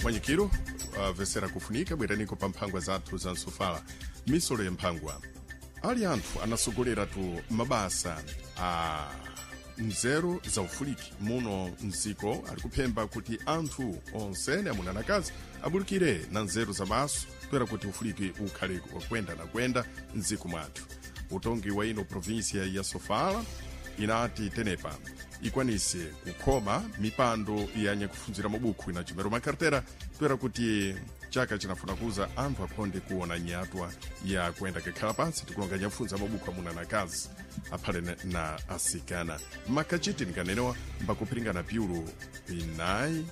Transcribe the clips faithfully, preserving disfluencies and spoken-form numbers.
Mwanyikiro uh, vesera kufunika bweraniko pa mphangwa zathu za nsofala misolo ya mphangwa ali anthu anasogolera tu mabasa a nzeru za ufuliki muno mziko ali kuphemba kuti anthu onsene amuna na akazi abulikire na nzeru za maso toera kuti ufuliki ukhale wakwenda na kwenda mdziko mwathu. Utongi wa ino provinsia ya Sofala inati tenepa ikwanise kukhoma mipando ya nyakufunzira mabukhu inachimero makartera toera kuti chaka chinafuna kuza anthu akhonde kuona nyatwa ya kuenda kakhala pansi tikulonga nyafunza mabukhu amuna na akazi aphale na, na asikana makachiti nikanenewa mbakuphiringana piulu inayi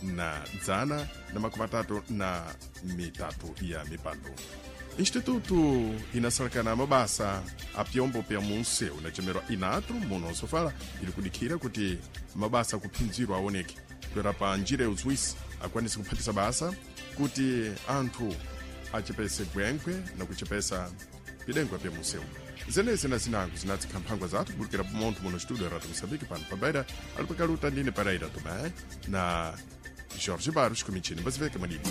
na dzana na makumi atatu na mitatu ya mipando. Instituto inasalakana mabasa a pyombo pya munseu inachemerwa inatru muno nsofala ili kudikhira kuti mabasa akuphinzirwa aoneke toera pa njira ya uziwisi akwanise kuphatisa basa kuti anthu achepese gwenkwe na kuchepesa pidengwa pya munseu. Zenezi na zinango zinatsikha mphangwa zathu kubulikira munthu muno studio Radio Moçambique pano pabaira ali pakaluta ndine Pereira Tomé na Jorge Barros kumichini mbaziveke madibu.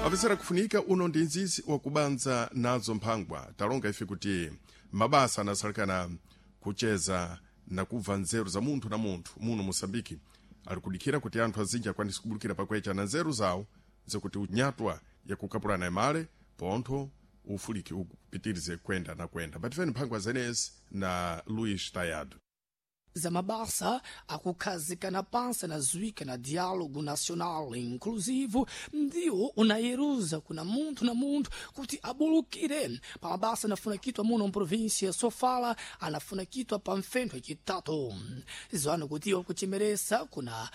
Apesera kufunika uno ndi nzizi wakubanza nazo mphangwa talonga ife kuti mabasa anasalekana kucheza na kubva nzeru za munthu na munthu muno Moçambique ali kudikhira kuti anthu azinji akwanise kubulikira pakwecha na nzeru zawo zakuti unyatwa yakukapulana imale pontho ufuliki upitirize kwenda na kwenda. Batifeni mphangwa zenezi na Luís Tayado. Zamabasa akukhazikana pansi na zwika na diálogo nacional inclusivo ndiwo unayeruza kuna munthu na munthu kuti abulukire pa mabasa anafuna kitwa muno mprovinsia Sofala anafuna kitwa pa mfentho yacitatu. Zwana kuti iwo kuchemeresa kuna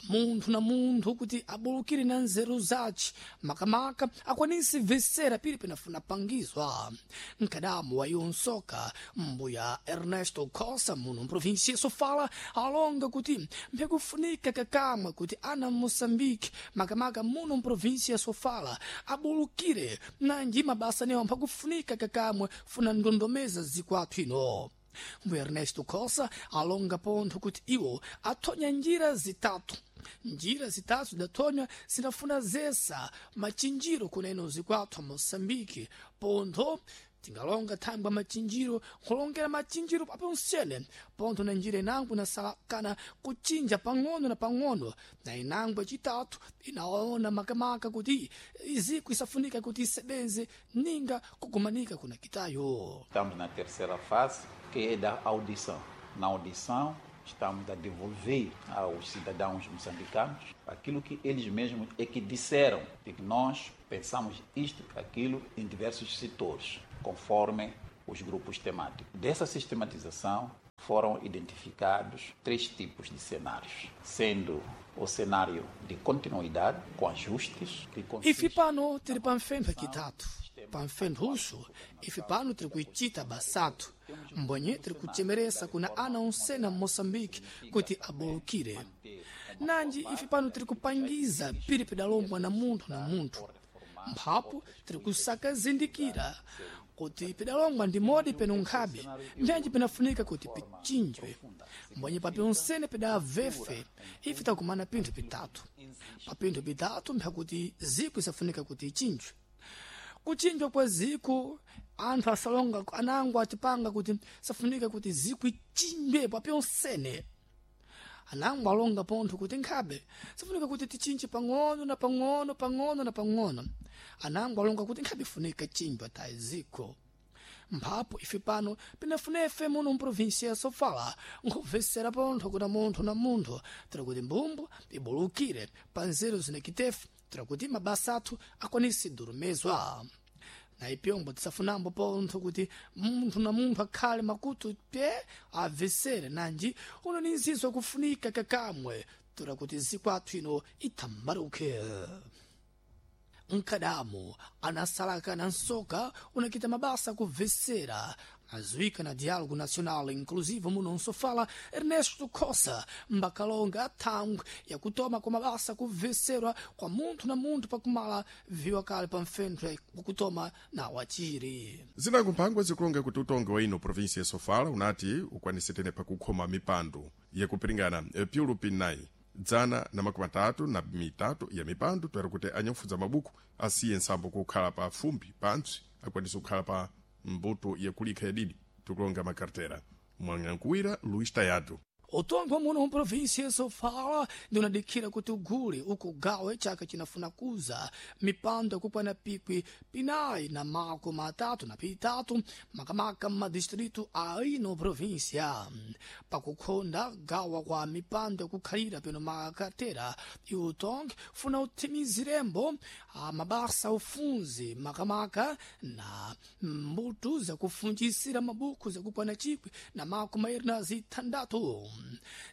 munthu na munthu kuti abulukire na nzeru zace makamaka akwanise vesera pili penafuna pangizwa. Nkadamu wa iwo nsoka mbuya Ernesto Costa muno mprovinsia Sofala alonga kuti mpekufunika kakamwe kuti ana Moçambique makamaka muno mprovinsia Sofala abulukire nanji mabasa newo mphakufunika kakamwe funa ndondomeza zikwathu ino. Mbuya Ernesto Costa alonga pontho kuti iwo athonya njira zitatu. Njira zitatu zidathonya zinafuna zesa machinjiro kuneno zikwathu a Moçambique pontho tingalonga thangwa machinjiro nkhulongera machinjiro paponsene pontho na njira inango inasalakana kuchinja pang'ono na pang'ono na inango yacitatu inaona makamaka kuti iziko isafunika kuti isebenze ninga kugumanika kuna kitayo. Estamos na terceira fase, que é da audição. Na audição, estamos a devolver aos cidadãos moçambicanos aquilo que eles mesmos é que disseram, de que nós pensamos isto, aquilo, em diversos setores, conforme os grupos temáticos. Dessa sistematização foram identificados três tipos de cenários, sendo o cenário de continuidade, com ajustes, que consiste... Ife pano tiri pamfentho yacitatu pamfentho uxo ife pano tiri kuicita basatu mbonye tiri kuchemeresa kuna ana onsena Moçambique kuti abulukire nanji ife pano tiri kupangiza pili pedalombwa na munthu na munthu mphapo tiri kusakazindikira kuti pedalongwa ndi modi peno nkhabe mbyanji penafunika kuti pichinjwe mbonye papi onsene pedavefe ife takumana pinthu pitatu pa pinthu pitatu mphakuti ziko isafunika kuti ichinjwe. Kuchinjwa kwa ziko anthu asalonga anango atipanga kuti safunika kuti ziko ichinjwe papi onsene anango alonga pontho kuti nkhabe safunika kuti tichinje pang'ono na pang'ono pang'ono na pang'ono anango alonga kuti nkhabe ifunika chinjwa tayi ziko. Mphapo ife pano pinafuna ife muno mprovinsia ya Sofala nkhubvesera pontho kuna munthu na munthu tira kuti mbumbu ibulukire pa nzeru zinakitefe tira kuti mabasa athu akwanise durumezwa. Na ipyombo tisafunambo pontho kuti munthu na munthu akhale makutu pye abvesere nanji uno ni nzizo akufunika kakamwe tura kuti zikwathu ino ithambaruke. Nkadamu anasalaka na nsoka unakita mabasa kubvesera azuika na Diálogo Nacional Inclusivo muno nsofala Ernesto Cossa mbakalonga thangwe yakutoma kwa mabasa kubveserwa kwa munthu na munthu pakumala viwa kale pa mfentho wakutoma na wachiri. Zinango mphangwa zikulonga kuti utongi wa ino provinsi ya Sofala unati ukwanise tene pakukhoma mipando yakupiringana piulu pinayi dzana na makumi atatu na mitatu ya mipando toera kuti anyakufunza mabuku asiye nsambo kukhala pa fumbi pantsi akwanise kukhala pa mbuto yakulikha yadidi tikulonga makartera mwanyankuwira Luís Tayado. Utongwa muno mprovinsia ya Sofala ndinadikhira kuti ugule ukugawe chaka chinafuna kuza mipando yakukwana pikwi pinayi na makumi atatu na pitatu makamaka mmadistritu a ino provinsia. Pakukhonda gawa kwa mipando yakukhalira peno makatera iutongi funa uthimizirembo mabasa ufunzi makamaka na mbuto zakufunjisira mabuku zakukwana chikwi na makumi mairi na zithandatu.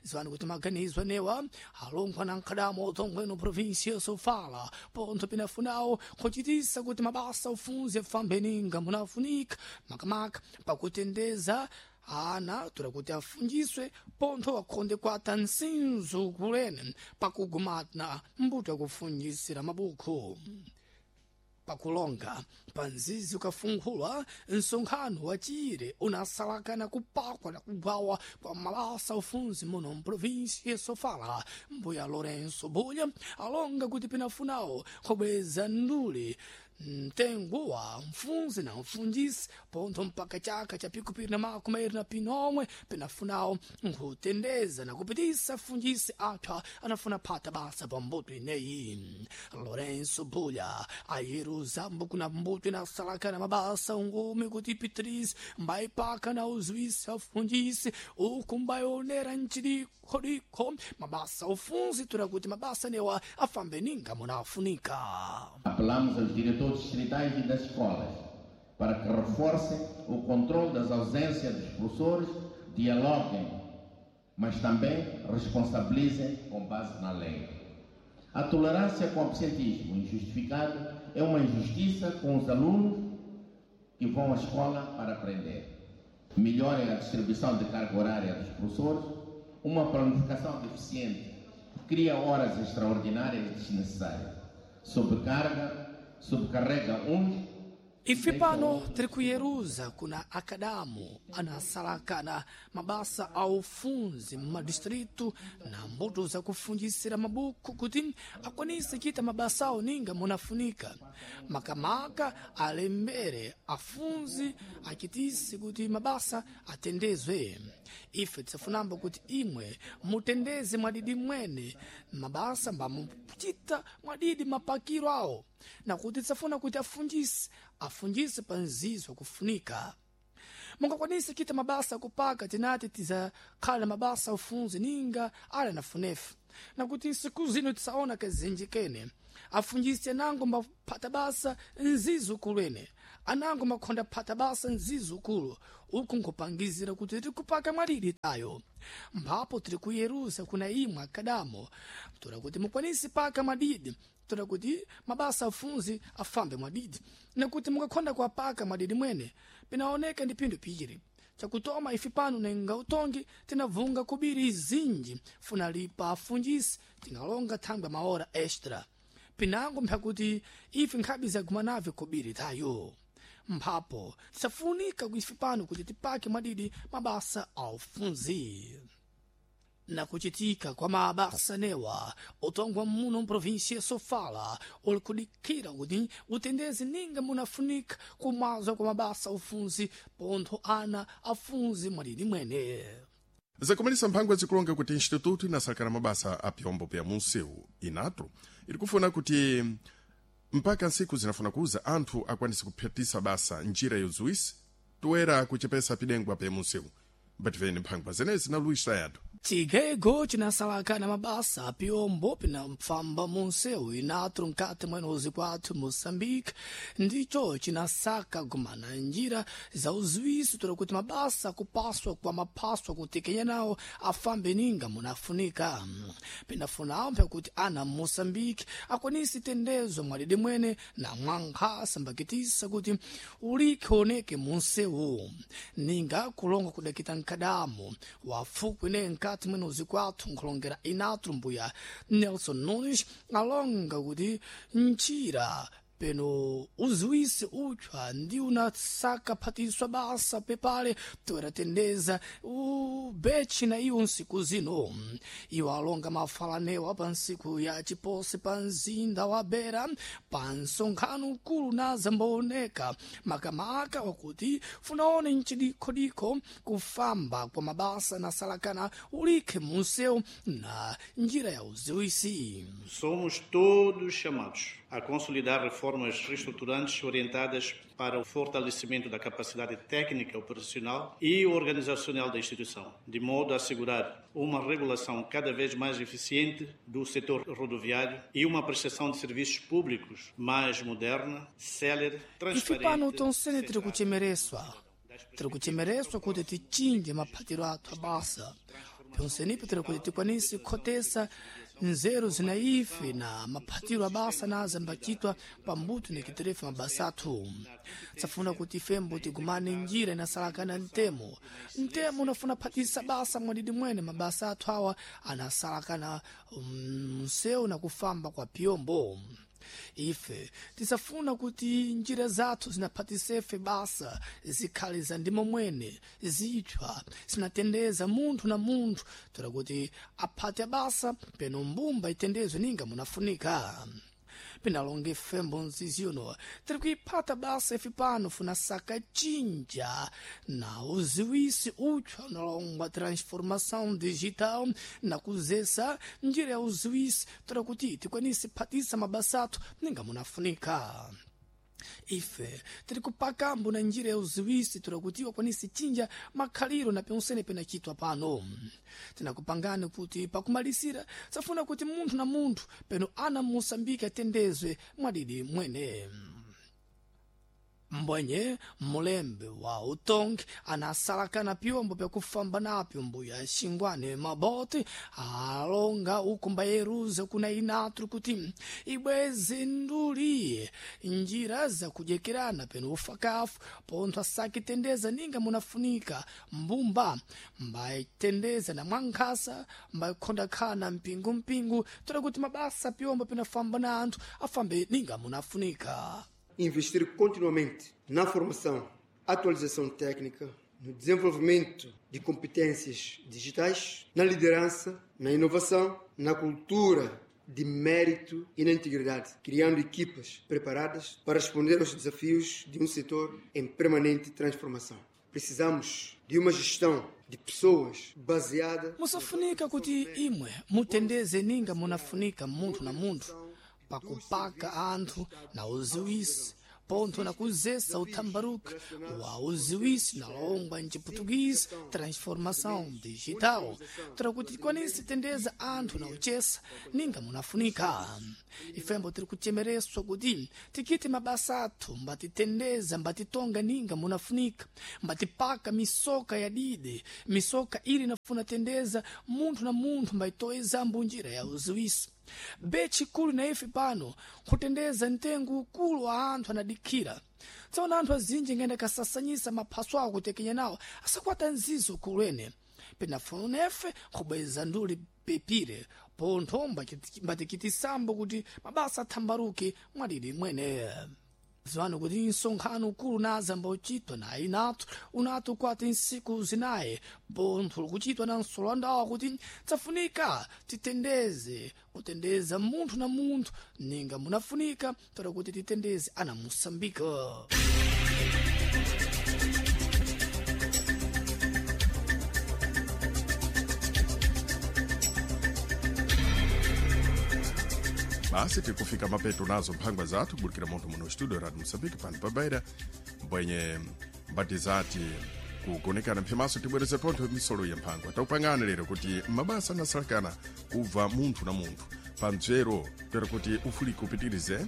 Ziwani kuti maganizo anewa alongwa na nkhadamo utongweno provinsia ya Sofala pontho pinafunawo kuchitisa kuti mabasa ufunzi afambe ninga munafunika makamaka pakutendeza ana tura kuti afunjiswe pontho wakhonde kwata nsinzu kulene pakugumana mbuto yakufunjisira mabuku. Pakulonga panzizi ukafunkhulwa msonkhano wa chire unasalakana kupakwa na kugwawa kwa mabasa ufunzi muno mprovinsi ya Sofala. Mbuya Lourenço Bulha alonga kuti pinafunawo kubweza ndule mtengo wa mfunzi na mfunjisi pontho mpaka chaka cha pikupiri na makumi mairi na pinomwe pinafunawo nkhutendeza na kupitisa funjisi apha anafuna phata basa pa mbuto ineyi. Lourenço Bulha ayeruza kuna mbuto inasalaka na mabasa ungumi kuti Patrice mbaipaka na uzuisa afunjisi uku mbaionera nchidikhodikho mabasa ufunzi tura kuti mabasa newa afambe ninga munafunika. Apelamos aos diretores distritais e das escolas para que reforcem o controle das ausências dos professores, dialoguem, mas também responsabilizem com base na lei. A tolerância com o absentismo injustificado é uma injustiça com os alunos que vão à escola para aprender. Melhorem a distribuição de carga horária dos professores, uma planificação deficiente cria horas extraordinárias desnecessárias, sobrecarga, sobrecarrega uns. Ife pano tiri kuyeruza kuna akadamu anasalakana mabasa a ufunzi mmadistritu na mbuto zakufunjisira mabuku kuti akwanise chita mabasa awo ninga munafunika makamaka alembere afunzi achitise kuti mabasa atendezwe. Ife tisafunamba kuti imwe mutendeze mwadidi mwene mabasa mbamuchita mwadidi mapakiro awo na kuti tisafuna kuti afunjise afunjise pa nzizo kufunika. Mungakwanise kita mabasa kupaka tinati tizakhala mabasa ufunzi ninga ala nafunefu na kuti nsiku zino tisaona kazinji kene afunjise anango maphata basa nzizukulu ene anango makhonda phata basa nzizukulu uku nkupangizira kuti tikupaka mwaliri tayo mphapo tiri kuyeruza kuna imwe akadamo toda kuti mukwanise paka mwadidi toda kuti mabasa afunzi afambe mwadidi nakuti mukakhonda kuapaka mwadidi mwene pinaoneka ndi phindu piri chakutoma ife pano nenga utongi tinavunga kubiri izinji funa lipa afunjisi tingalonga thangwa maora extra pinango mphakuti ife nkhabi zagumanave kubiri tayo mphapo tisafunika ife pano kuti tipake mwadidi mabasa aufunzi. Na kuchitika kwa mabasa newa utongwa muno mprovinsia ya Sofala uli kudikhira kuti utendezi ninga munafunika kumazwa kwa mabasa ufunzi pontho ana afunzi mwadidi mwene. Zakumalisa mphangwa zikulonga kuti instituto inasalakana mabasa a pyombo pya munsewu inatro iri kufuna kuti mpaka nsiku zinafuna kuza anthu akwanise kuphatisa basa njira yozuwisi toera kuchepesa pidengwa pya munsewu. Mbativeni mphangwa zenezi na Luís Tayado. Chigego chinasalakana mabasa apyombo pinafamba munsewu inatro mkati mwenozi kwathu Moçambique ndicho chinasaka gumana njira za uziwiso tola kuti mabasa kupaswa kwa maphaswa kutekenya nawo afambe ninga munafunika. Pinafunawo mpyakuti ana Moçambique akwanise tendezo mwadidi mwene na mwankhasa mbakitisa kuti ulikhe oneke munsewu ninga kulonga kudakita mkadamo wafukwi ne mkati mwenozi kwathu nkhulongera inatro mbuya Nelson Nunes alonga kuti njira peno uziwisi utshwa ndi unasaka phatiswa basa pepale toeratendeza ubechi na iwo nsiku zino. Iwo alonga mafalanewa pa nsiku ya chiposi pa mzinda wa Beira pa nsonkhano ukulu na zambaoneka makamaka wakuti funaone mchidikhodikho kufamba kwa mabasa na salakana ulikhe munsewu na njira ya uziwisi. Somos todos chamados a consolidar reformas reestruturantes orientadas para o fortalecimento da capacidade técnica, operacional e organizacional da instituição, de modo a assegurar uma regulação cada vez mais eficiente do setor rodoviário e uma prestação de serviços públicos mais moderna, célere, Ife pano transparente. tonsene tiri kuchemereswa tiri kuchemereswa kuti tichinje maphatiro athu abasa pyonsenipo tiri kuti tikwanise kukhotesa nzeru zina ife na maphatiro abasa naza ambacitwa pambuto nikiterefa mabasa athu. Safuna kuti ifembo tigumane njira inasalakana mtemo mtemo unafuna phatisa basa mwadidi mwene mabasa athu awa anasalakana msewu na kufamba kwa pyombo. Ife tisafuna kuti njira zathu zinaphatisefe basa zikhale za ndimo mwene zitshwa zinatendeza munthu na munthu toera kuti aphate basa peno mbumba itendezwe ninga munafunika. Pinalonga ifembo nziziono tiri kuiphata basa ife pano funa saka cinja na uziwisi utshwa unalongwa transformação digital na kuzesa njira ya uziwisi toera kuti tikwanise phatisa mabasa athu ninga munafunika. Ife tiri kupakambo na njira ya uziwisi toera kuti wakwanise chinja makhaliro na pyonsene penachitwa pano. Tinakupangani kuti pakumalisira safuna kuti munthu na munthu peno ana Moçambique atendezwe mwadidi mwene. Mbwenye mulembe wa utongi anasalakana pyombo pyakufamba napyo mbuya xingwane mabote alonga uku mbayeruza kuna inatru kuti ibweze nduli njira zakudyekerana peno ufakafu pontho asakitendeza ninga munafunika mbumba mbayitendeza na mwankhasa mbayikhondakhala mpingumpingu toera kuti mabasa pyombo pinafamba na anthu afambe ninga munafunika. Investir continuamente na formação, atualização técnica, no desenvolvimento de competências digitais, na liderança, na inovação, na cultura de mérito e na integridade, criando equipas preparadas para responder aos desafios de um setor em permanente transformação. Precisamos de uma gestão de pessoas baseada Musafunika kuti imwe mutendeze ninga munafunika munthu na munthu pakupaka anthu na uziwisi pontho na kuzesa uthambaruka wa uziwisi nalongwa mchiputukisi transformação digital toera kuti tikwanise tendeza anthu na uchesa ninga munafunika. Ifembo tiri kuchemereswa kuti tikite mabasa athu mbatitendeza mbatitonga ninga munafunika mbatipaka misoka ya dide misoka ili inafuna tendeza munthu na munthu mbaitoezambo njira ya uziwisi. Bechi kulu na ife pano kutendeza mtengo ukulu wa anthu anadikhira tsono anthu azinji ngenda kasasanyisa maphaso awo kutekenya nawo asakwata nzizo kulwene pinafuna efe kubweza nduli pepire pontho mbatikitisambo kuti mabasa athambaruke mwadidi mwene. Ziwani kuti nsonkhano ukulu naza mbauchitwa na inathu unati ukwati nsiku zinayi pontho likuchitwa na nsolandawa kuti tsafunika titendeze kutendeza munthu na munthu ninga munafunika toera kuti titendeze ana Moçambique. Basi tikufika mapeto nazo mphangwa zathu kubulikira munthu muno studio Radio Moçambique pano pa Beira mbwenye mbati zati kugonekana mphimaso tibwereze pontho misolo ya mphangwa taupangani lero kuti mabasa anasalakana kubva munthu na munthu pa mdzero toera kuti ufulike upitirize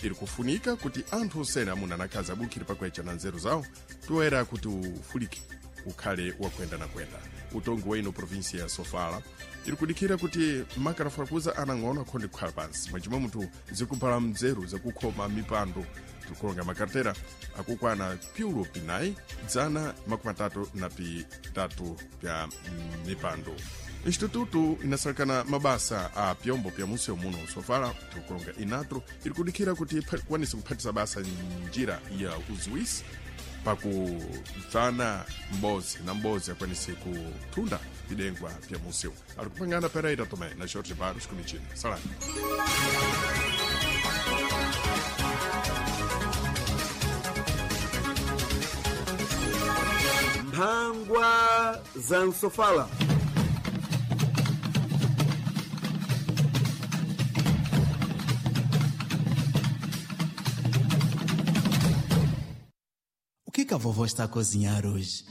iri kufunika kuti anthu osene amuna na akazi abulukire pakwecha na nzeru zawo toera kuti ufulike ukhale wakwenda na kwenda. Utongi wa ino provinsia ya Sofala iri kudikhira kuti makarafarakuza anang'ono akhonde kukhala pansi mwachimwe munthu zikuphala mdzeru zakukhoma mipando tikukonga makartera akukwana piulo pinayi dzana makumi atatu na pitatu pya mipando. Instituto inasalakana mabasa a pyombo pya museu muno sofala tikukulonga inatro iri kudikira kuti ikwanise kuphatisa basa njira ya uziwisi pakubvana m'bozi na m'bozi akwanise kuthunda bidengwa pya museu. Ali kupangana Pereira Tomé na Jorge Barros kumichina. Salani. Mphangwa za Nsofala. O que que a vovó está a cozinhar hoje?